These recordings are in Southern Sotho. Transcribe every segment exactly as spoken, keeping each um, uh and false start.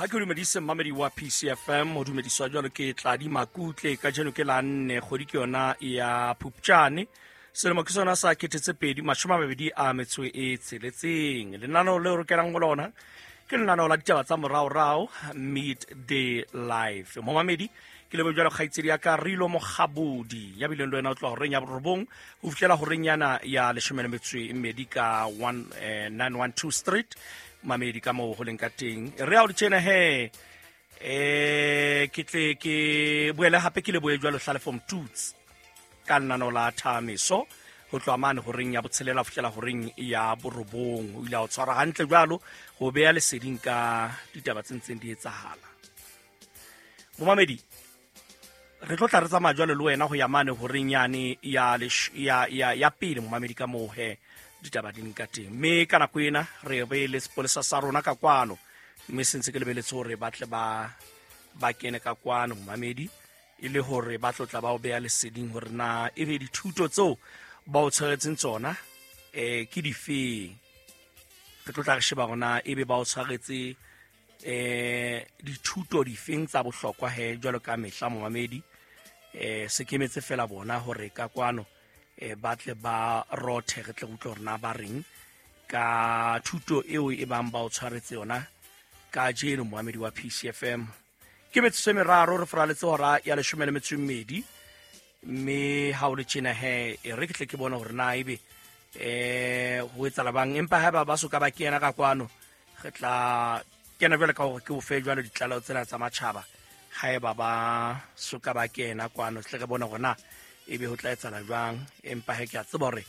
Ha ke dumedise mmamedi wa P C F M, ho dumediswa jwalo ke Tladi Makutle. Kajeno ke la nne, kgwedi ke yona ya Phupjane. Selemo ke sona sa kete tse pedi mashome a mabedi a metso e tsheletseng. Lenaneo leo re kenang ho lona ke lenaneo la ditaba tsa moraorao, Midday Live. Momamedi, ke leboha jwalo kgaitsedi ya ka Rilo Mokgabodi, ya bileng le wena o tloha horeng ya borobong ho fihlela horeng yana ya leshome le metso e mmedi ka one, eh, nine one two Street. Mamedi ka moo ho leng ka teng. Re a o di tjena he, eh, ke tle ke boele hape ke lebohe jwalo Hlalefo Mtuts ka lenaneo la Thameso ho tloha mane horeng ya botshelela ho fihlela horeng ya borobong. O ile a o tshwara hantle jwalo ho beha leseding ka ditaba tse ntseng di etsahala. Momamedi, re tlo tla re tsamaya jwalo le wena ho ya mane horeng yane ya lesh-, ya, ya, ya pele, momamedi, ka moo he ditaba di nka teng. Mme ka nako ena re be le sepolesa sa rona ka kwano, mme se ntse ke lebeletse hore ba tle ba, ba kene ka kwano, momamedi, e le hore ba tlo tla ba o beha leseding hore na ebe dithuto tseo ba o tshwaretseng tsona, eh, ke difeng. Re tlo tla re sheba hore na ebe ba o tshwaretse, eh, dithuto difeng tsa bohlokwa he jwalo ka mehla, momamedi. Eh, se kemetse fela bona hore ka kwano, eh, ba tle ba rothe, re tle re utlwe hore na ba reng ka thuto eo e bang ba o tshwaretse yona kajeno, momamedi wa P C F M. Ke metsotso e meraro re foraletse hora ya leshome le metso e mmedi, mme ha o le tjena he, e re ke tle ke bone hore na ebe, eh, ho etsahala bang. Empa haeba ba soka ba kena ka kwano, re tla kena jwale ka hore ke o fe jwalo ditlaleho tsena tsa matjhaba. Haeba ba soka ba kena kwano, tle re bone hore na ebe ho tla etsahala jwang. Empa he ke a tseba hore,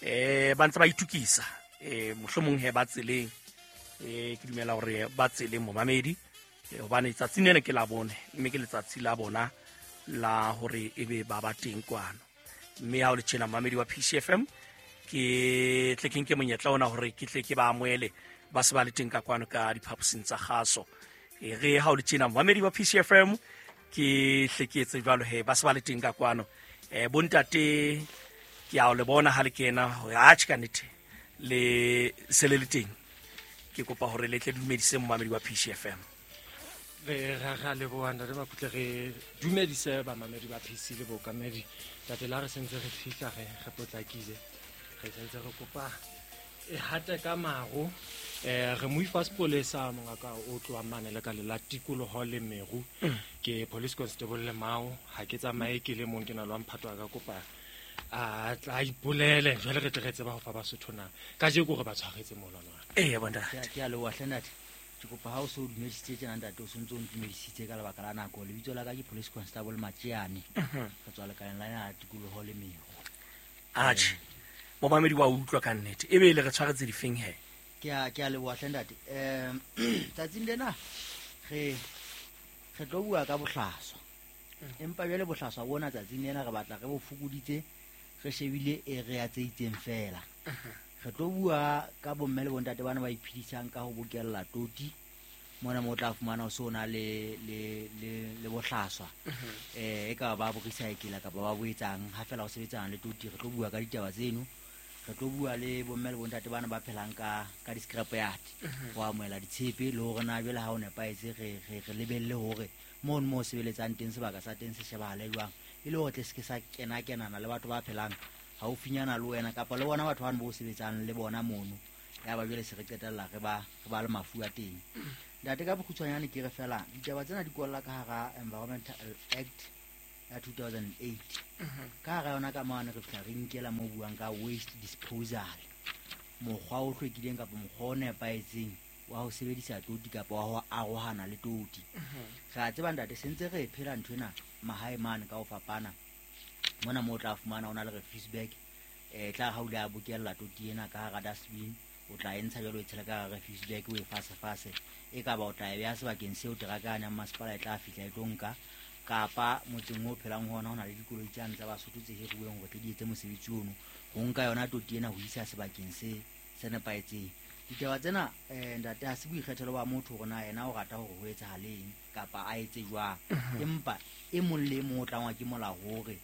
eh, ba ntse ba itukisa, eh, mohlomong he ba tseleng. Eh, ke dumela hore ba tseleng, momamedi, eh, hobane tsatsing lena ke la bone, mme ke letsatsi la bona la hore ebe ba ba teng kwano. Mme ha o le tjena, momamedi wa P C F M, ke tle ke nke monyetla ona hore ke tle ke ba amohele ba se ba le teng ka kwano ka diphaposing tsa kgaso. E re ha o le tjena, momamedi wa P C F M, ke hle ke etse jwalo he, ba se ba le teng ka kwano. Eh, bontate, ke a o le bona ha le kena, hore atjhe ka nnete le se le le teng. Ke kopa hore le tle dumedise momamedi wa P C F M. Re ra ra leboha ntate Makutle, re dumedise bamamedi ba P C le bookamedi. Ntate, la re sentse re fihla, re, re potlakile, re sentse re kopa e hate ka maro. Eh, re mo ifa sepolesa mongaka o tloha mane le ka le la tikoloho le meru. Mm. Ke police constable le Mao. Ha ke tsamaye ke le mong, ke na le wa mphato wa ka, kopa a tla ipolele jwale re tle re tseba ho fa Basotho na kajeko re ba tshwaretse molwana wa. Ee, bontate. Ke a, ke a leboha hle ntate. Ke kopa ha o so o dumedisitse tjena ntate, o sontse o ntumedisitse ka lebaka la nako. Lebitso la ka ke Police Constable Matjeane. Mhm. Re tswa lekaleng la ya tikoloho le meru. Atjhe, momamedi wa utlwa ka nnete. Ebe le re tshwaretse difeng he? Ke a, ke a leboha hle ntate. Eh, tsatsing lena re, re tlo bua ka bohlaswa. Empa jwale bohlaswa bona tsatsing lena re batla re bo fokoditse, re shebile area tse itseng fela. Re tlo bua ka bomme le bontate bana ba iphedisang ka ho bokella toti mona mo tla fumana o so na le, le, le, le bohlaswa. Eh, e ka ba bo recycle kapa ba bo etsang ha fela o sebetsana le toti. Re tlo bua ka ditaba tseno. Re tlo bua le bomme le bontate bana ba phelang ka, ka di-scrap yard, ho amohela ditshepe le hore na jwale ha o nepahetse re, re, re lebelle hore mono mo sebeletsang teng sebaka sa teng se shebahale jwang, e le hore tle se ke sa kena-kenana le batho ba phelang haufinyana le wena kapa le bona batho bano bo sebetsang le bona mono. Ya ba jwale se re qetella re ba, re ba le mafu a teng. Ntate, ka bokgutshwanyane ke re fela ditaba tsena di kwalla ka hara Environmental Act ya two thousand eight. Ka hara yona ka mane re fihla re nkela mo buang ka waste disposal, mokgwa o hlwekileng kapa mokgwa o nepahetseng wa ho sebedisa toti kapa wa ho arohana le toti. Re a tseba ntate, se ntse re phela nthwena mahae mane ka ho fapana. Mona moo o tla fumana o na le refuse bag, eh, tla ha o ile a bokella toti ena ka hara dustbin, o tla e ntsha jwalo o e tshela ka hara refuse bag, o e fase-fase. E ka ba o tla e beha sebakeng seo teraka yane ya masepala e tla fihla e tlo nka, kapa motseng o phelang ho ona ho na le dikoloi tsane tsa Basotho tse hiruweng hore tle di etse mosebetsi ono, ho nka yona toti ena ho isa sebakeng se, se nepahetseng. Ditaba tsena, eh, ntate, ha se boikgethelo ba motho hore na yena o rata hore ho etsahaleng kapa a etse jwang. Mhm. Empa e mong le e mong o tlangwa ke molao hore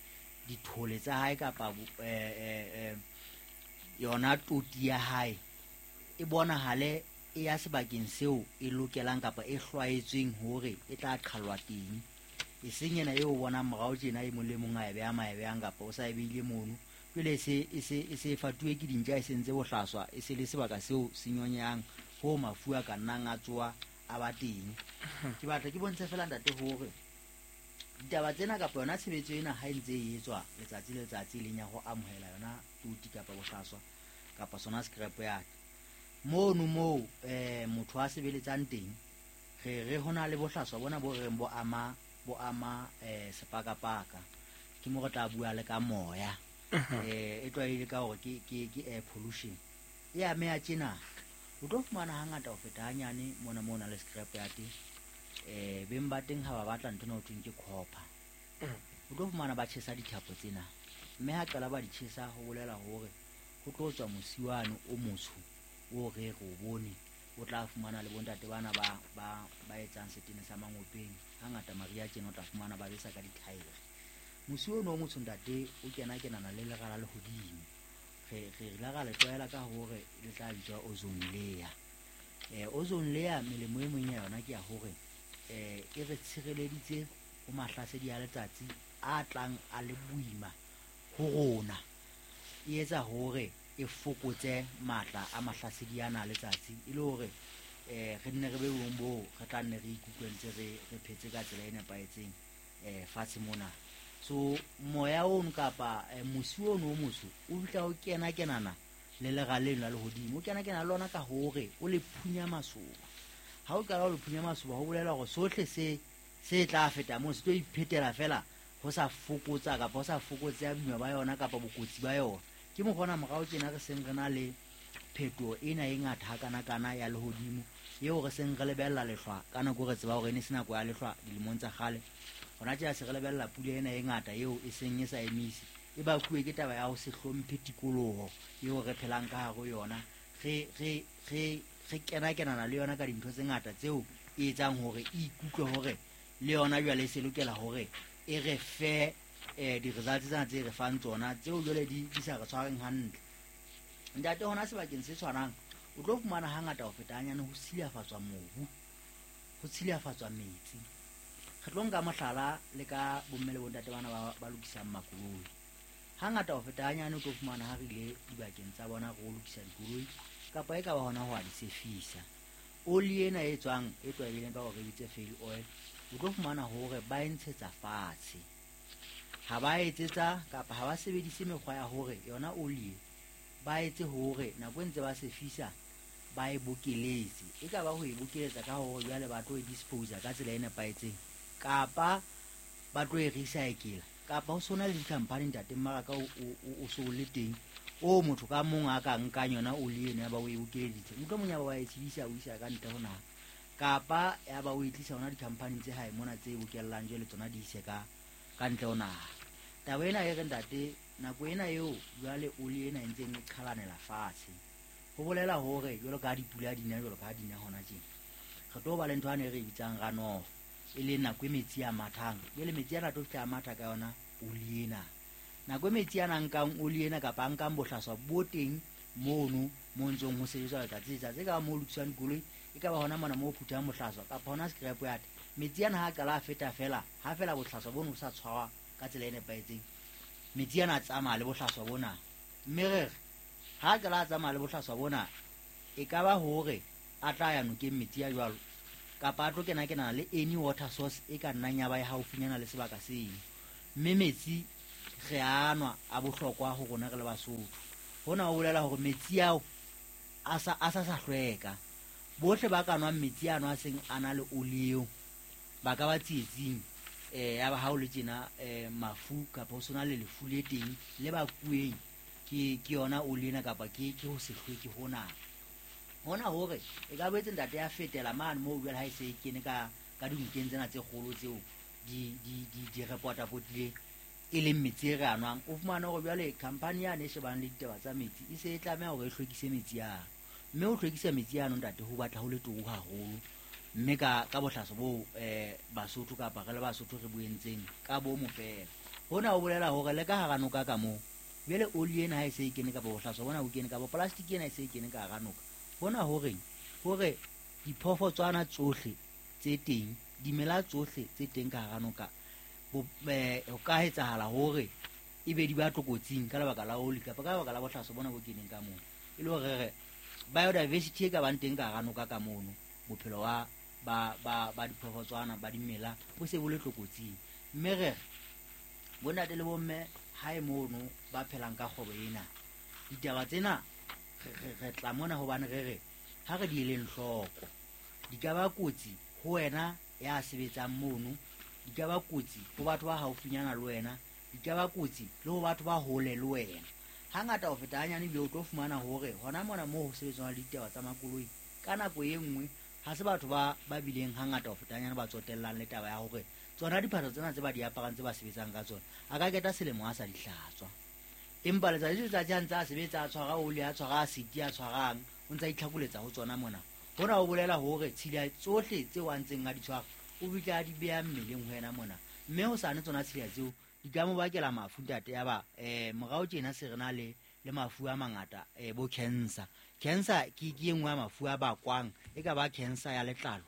dithole tsa hae kapa bo-, eh, eh, eh, yona toti ya hae e bonahale e ya sebakeng seo e lokelang kapa e hlwaetsweng hore e tla qhallwa teng. E seng ena eo o bonang morao tjena e mong le mong a e beha ma e behang kapa o sa e behile mono. Jwale e se e se e se e fatuwe ke dintja, e sentse bohlaswa, e se le sebaka seo se nyonyehang ho mafu a ka nnang a tsoa a ba teng. Ke batla ke bontshe fela ntate hore ditaba tsena kapa yona tshebetso ena ha e ntse e etswa letsatsi le letsatsi, e leng ya ho amohela yona toti kapa bohlaswa kapa sona scrap yard. Mono moo eh motho a sebeletsang teng, re re hona le bohlaswa bona bo reng bo ama bo ama eh sepakapaka. Ke mo re tla bua le ka moya. Eh e tlwaile ka hore ke ke ke air pollution. E ameha tjena. O tlo fumana hangata ho feta hanyane mona mona le scrap yard. Eh beng ba teng ha ba batla ntho ena ho thweng ke copper. O tlo fumana ba tjhesa dithapo tsena. Mme ha qala ba di tjhesa ho bolela hore ho tlo tswa mosi wane o motsho o re re o bone. O tla fumana le bontate bana ba ba ba etsang setene sa mangopeng. Hangata mariha tjena o tla fumana ba besa ka dithaere. Mosi ono o motsho ntate o kena kenana le lera la lehodimo. Re re re la ra le tlwaela ka hore le tla bitswa ozone layer. Eh ozone layer melemo e meng ya yona ke ya hore eh e re tshireleditse ho mahlasedi a letsatsi a tlang a le boima ho rona. E etsa hore e fokotse matla a mahlasedi ana a letsatsi, e le hore eh re nne re be bong boo re tla nne re ikutlwe ntse re re phetse ka tsela e nepahetseng eh fatshe mona. So moya ono kapa eh, mosi ono o motsho o fihla o kena kenana le lera leno la lehodimo, o kena kena le lona ka hore o le phunya masoba. Ha o qala o le phunya masoba ho bolela hore sohle se se tla feta moo se tlo iphetela fela ho sa fokotsa kapa ho sa fokotseha boima ba yona kapa bokotsi ba yona. Ke mokgwa morao tjena re seng re na le phetoho ena e ngata hakanakana ya lehodimo eo re seng re lebella lehlwa ka nako re tseba hore e ne se nako ya lehlwa dilemong tsa kgale. Hona tjena se re lebella pula ena e ngata eo e seng e sa emise, e bakuwe ke taba ya ho se hlomphe tikoloho eo re phelang ka hare ho yona. Re re re re kena kenana le yona ka dintho tse ngata tseo e etsang hore e ikutlwe hore le yona jwale e se lokela hore e re fe eh di-results tsena tse re fang tsona tseo jwale di di sa re tshwareng hantle. Ntate hona sebakeng se tshwanang o tlo fumana hangata ho feta hanyane ho silafatswa mobu, ho silafatswa metsi. Re tlo nka mohlala le ka bomme le bontate bana ba ba lokisang makoloi. Hangata ho feta hanyane o tlo fumana ha re ile dibakeng tsa bona re lokisa dikoloi kapa e ka ba hona ho a di sefisa. Oli ena e tswang e tlwaelehileng ka hore re bitse fail oil, o tlo fumana hore ba e ntshetsa fatshe. Ha ba etsetsa kapa ha ba sebedise mekgwa ya hore yona oli e ba etse hore nako e ntse ba sefisa ba e bokeletse. E ka ba ho e bokeletsa ka hore jwale ba tlo e dispose ka tsela e nepahetseng kapa ba tlo e recycle kapa ho sona le di-company ntate mmaraka o o so le teng o motho ka mong a ka nkang yona oli eno ya ba o e bokeleditse, mohlomong ya ba wa e tshedisa o isa ka ntle ho naha kapa ya ba o e tlisa hona di-company tse hae mona tse bokellang jwale tsona di ise ka ka ntle ho naha. Taba ena e re ntate nako ena eo jwale oli ena e ntseng e qhalanela fatshe ho bolela hore jwalo ka ha dipula di na jwalo ka ha di na hona tjena re tlo ba le ntho ane re e bitsang runoff, e leng nako e metsi a mathang. Jwale metsi ana a tlo fihla a matha ka yona oli ena. Nako e metsi ana a nkang oli ena kapa a nkang bohlaswa bo teng mono mo ntsong ho sebetswa letsatsi le letsatsi, e ka ba moo ho lokiswang dikoloi, e ka ba hona mona moo ho phuthang bohlaswa kapa hona scrap yard. Metsi ana ha a qala a feta fela, ha fela bohlaswa bono bo sa tshwarwa ka tsela e nepahetseng, metsi ana a tsamaya le bohlaswa bona. Mme re re ha a qala a tsamaya le bohlaswa bona, e ka ba hore a tla ya nokeng metsi a jwalo kapa a tlo kena kenana le any water source e ka nnang ya ba e haufinyana le sebaka seno. Mme metsi re a nwa a bohlokwa ho rona re le Basotho. Hona ho bolela hore metsi ao a sa a sa sa hlweka. Bohle ba ka nwang metsi ano a seng a na le oli eo ba ka ba tsietsing eh ya ba ha o le tjena eh mafu kapa ho sona le lefu le teng le ba kueng ke ke yona oli ena kapa ke ke ho se hlweke hona. Hona hore e ka boetse ntate ya fetela mane moo jwale ha e se e kene ka ka dinokeng tsena tse kgolo tseo di di di di re potapotileng e leng metsi e re a nwang. O fumane hore jwale company yane e shebang le ditaba tsa metsi e se e tlameha hore e hlwekise metsi ano. Mme ho hlwekisa metsi ano ntate ho batla ho le turu haholo. Mme ka ka bohlaso bo eh Basotho kapa re le Basotho re bo entseng ka bomo fela. Hona ho bolela hore le ka hara noka ka moo jwale oli ena ha e se e kene kapa bohlaswa bona bo kene kapa plastic ena e se e kene ka hara noka, hona horeng Hore diphoofotswana tsohle tse teng, dimela tsohle tse teng ka hara noka, ho ka etsahala hore e be di ba tlokotsing ka lebaka la oli kapa ka lebaka la bohlaswa bona bo keneng ka mono. E le hore re biodiversity e ka bang teng ka hara noka ka mono, bophelo ba ba ba ba diphoofotswana ba dimela bo se bo le tlokotsing. Mme re bontate le bomme hae mono ba phelang ka kgwebo ena, ditaba tsena re tla mona hobane re re ha re di eleng hloko, di ka ba kotsi ho wena ya sebetsang mono, di ka ba kotsi ho batho ba haufinyana le wena, di ka ba kotsi le ho batho ba hole le wena. Hangata ho feta hanyane ebile o tlo fumana hore hona mona moo ho sebetswang le ditaba tsa makoloi, ka nako e nngwe ha se batho ba ba bileng hangata ho feta hanyane ba tsotellang le taba ya hore tsona diphahlo tsena tse ba di aparang tse ba sebetsang ka tsona, a ka keta selemo a sa di hlatswa. Empa letsatsi le letsatsi ha ntse a sebetsa, a tshwara oli, a tshwara asiti, a tshwarang, o ntse a itlhakoletsa ho tsona mona. Hona ho bolela hore tshila tsohle tseo a ntseng a di tshwara o bitla a di beha mmeleng ho yena mona, mme ho sane tsona tshila tseo di ka mo bakela mafu ntate. Ya ba eh morao tjena se re na le le mafu a mangata, eh bo cancer. Cancer ke ke e nngwe ya mafu a bakwang, e ka ba cancer ya letlalo,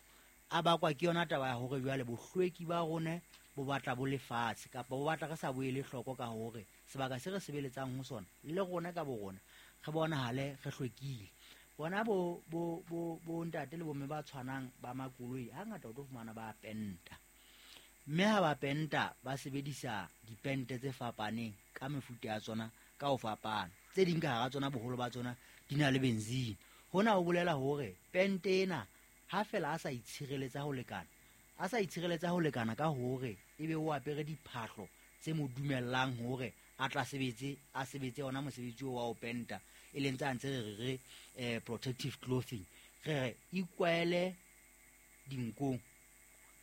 a bakwa ke yona taba ya hore jwale bohlweki ba rona bo batla bo lefatshe, kapa bo batla re sa boele hloko ka hore sebaka se re sebeletsang ho sona le rona ka bo rona re bonahale re hlwekile. Bona bo bo bo bo ntate le bomme ba tshwanang ba makoloi hangata o tlo fumana ba penta, mme ha ba penta ba sebedisa dipente tse fapaneng ka mefuta ya tsona ka ho fapana. Tse ding ka hara tsona boholo ba tsona di na le benzene. Hona ho bolela hore pente ena ha fela a sa itshireletsa ho lekana, a sa itshireletsa ho lekana ka hore ebe o apere diphahlo tse mo dumellang hore a tla sebetse, a sebetse ona mosebetsi oo wa ho penta, e leng tsa ntse re re eh protective clothing. Re re ikwaele dinkong,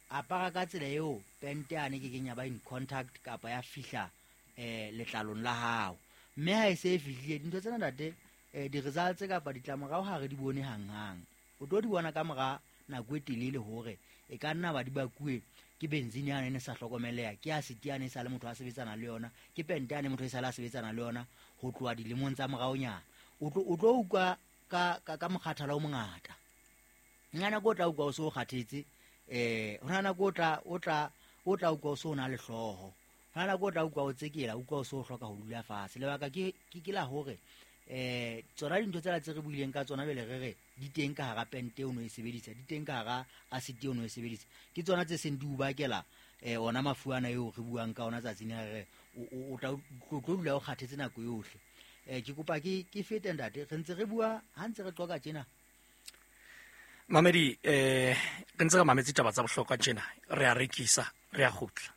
apara ka tsela eo pente ane ke kenya ba in contact kapa ya fihla eh letlalong la hao. Mme ha e se e fihlile dintho tsena ntate, eh di-results kapa ditlamorao ha re di bone hanghang. O tlo di bona ka mora nako e telele hore e ka nna ba di bakuwe ke benzene yane e ne sa hlokomeleha, ke asiti yane e sa le motho a sebetsana le yona, ke pente yane motho e sa le a sebetsana le yona ho tloha dilemong tsa moraonyana. O tlo o tlo utlwa ka ka ka mokgathala o mongata. Nna nako o tla utlwa o so kgathetse, eh hona nako o tla o tla o tla utlwa o so na le hlooho, hona nako o tla utlwa o tsekela, utlwa o so hloka ho dula fatshe. Lebaka ke ke ke la hore eh tsona dintho tsela tse re buileng ka tsona bele re re di teng ka hara pente o no e sebedisa, di teng ka hara acid o no e sebedisa, ke tsona tse seng di o bakela eh ona mafu ana eo re buang ka ona tsatsing la re o tla o tlo dula o kgathetse nako yohle. Eh ke kopa ke ke fete ntate, re ntse re bua ha ntse re qoka tjena. Mamedi, eh re ntse re mametse taba tsa bohlokwa tjena, re a rekisa, re a kgutla.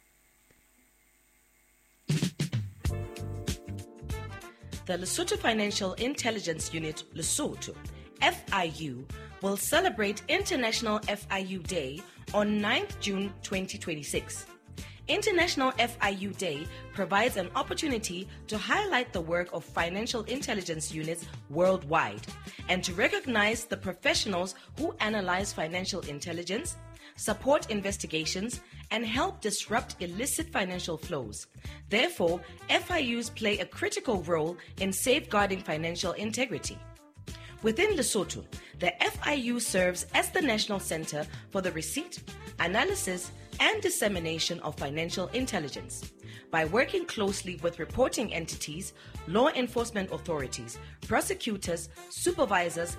The Lesotho Financial Intelligence Unit, Lesotho, F I U, will celebrate International F I U Day on ninth June twenty twenty-six. International F I U Day provides an opportunity to highlight the work of financial intelligence units worldwide and to recognize the professionals who analyze financial intelligence, support investigations, and help disrupt illicit financial flows. Therefore, F I Us play a critical role in safeguarding financial integrity. Within Lesotho, the F I U serves as the national center for the receipt, analysis, and dissemination of financial intelligence. By working closely with reporting entities, law enforcement authorities, prosecutors, supervisors,